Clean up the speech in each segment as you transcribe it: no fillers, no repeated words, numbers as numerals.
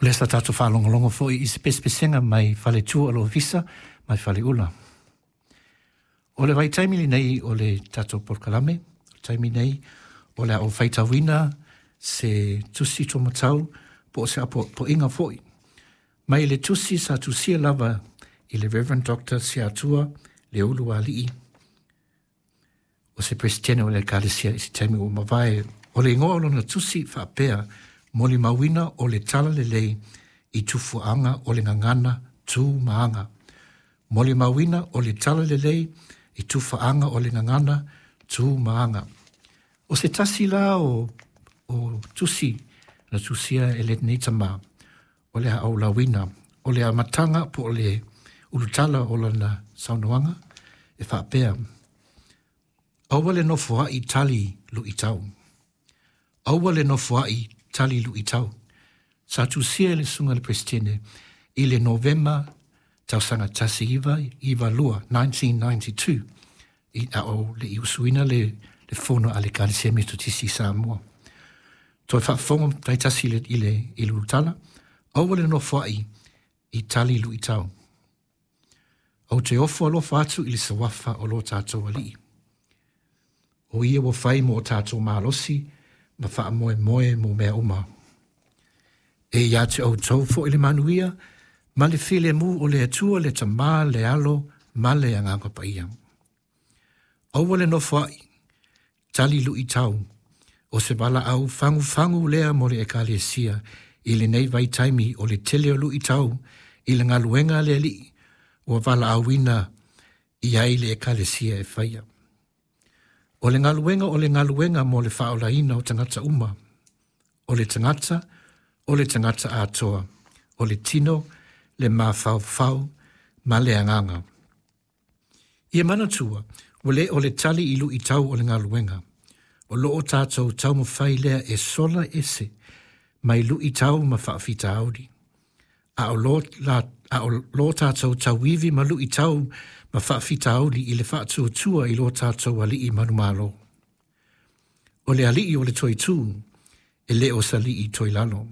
O lea sa tatou faalogologo foi i se pesepesega mai faletua o le Ofisa mai Faleula. O le vaitaimi lenei o le tatou polokalame, o le taimi nei o le a ou faitauina se tusi taumatau po o se apoapoaiga foi. Mai le tusi sa tusia lava i le Reverend Dr. Siatua Leulualii, o se Peresetene o le Ekalesia i se taimi ua mavae. O le igoa o lona tusi faapea, Molimauina o le Talalelei i Tufuaga o le Gagana Tu ma Aga. Molimauina o le Talalelei i Tufaaga o le Gagana Tu ma Aga. O se tasi la o, o tusi na tusia e lenei tamā, o le a ou lauina, o le amataga po o le ulutala o lana saunoaga e faapea, Aua le nofoa'i tali lu'itau. Aua le nofoa'i tali lu'itau. Sa tusia e le Susuga i le Peresetene i le Novema tausaga 1992, 1992, i a o le i usuina le, le fono a le Ekalesia Metotisi i Samoa. Toe faafofoga taitasi i le, i le, i le ulutala, aua le nofoa'i i tali lu'itau. Ou te ofo alofa atu i le sawafa o lo tātou Alii. O ia ua fai mo o tātou malosi ma faamoemoe mo mea uma. E ia te outou foi le manuia ma le filemu o le Atua le Tama, le Alo ma le Agaga Paia. Aua le nofoa'i, tali lu'itau, o se valaau fagufagu lea mo le Ekalesia i lenei vaitaimi o le tele o lu'itau i le galuega a le Alii ua valaauina i ai le Ekalesia e faia. O le galuega o le galuega mo le faaolaina o tagata uma, o le tagata, o le tagata atoa, o le tino, le mafaufau ma le agaga. Ia manatua, ua le o le tali i luitau o le galuega. O lo o tātou taumafai lea e sola ese mai luitau ma faafitauli. A o lo, la, a o lo tātou tauivi ma luitau ma faafitauli i le faatuatua i lo tātou Alii manumalo. O le Alii o le toitū, e le o se alii toilalo.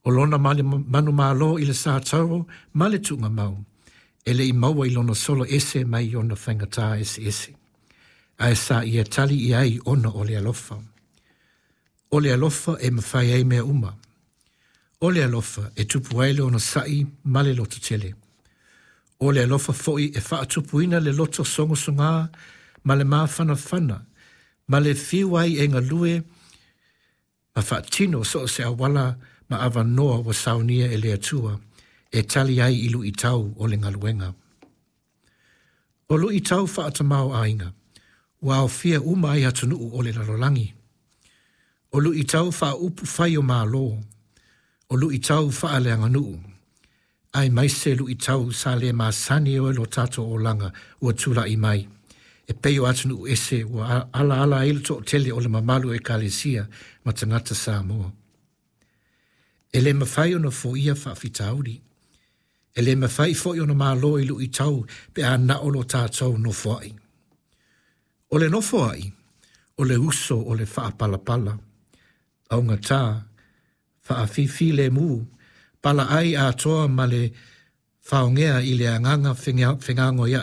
O lona manumalo i le sa tauro ma le tuugamau, e le i maua i lona sola ese mai ona faigata eseese. Ae sa ia tali i ai ona o le alofa. O le alofa e mafai ai mea uma. O le alofa e tupu ai le onosa'i ma le lototele. O le alofa foi e faatupuina le loto sogasogā ma le mafanafana, ma le fiu ai e galue ma faatino so o se auala ma avanoa ua saunia e le Atua e tali ai i luitau o le galuega. O luitau faatamao-aiga, ua aofia uma ai atunuu o le lalolagi. O luitau faaupufai o Malo, o luitau faaleaganuu, aemaise luitau sa le masani ai lo tatou olaga ua tula'i mai, e pei o atunuu ese ua alaala ai le toatele o le mamalu o Ekalesia ma tagata Samoa. E le mafai ona foia faafitauli. E le mafai foi ona malo i luitau pe a na o lo tātou nofoa'i. O le nofoa'i, o le uso o le faapalapala, augatā, faafifilemu, palaai atoa ma le faogea i le agaga fegagoia'i.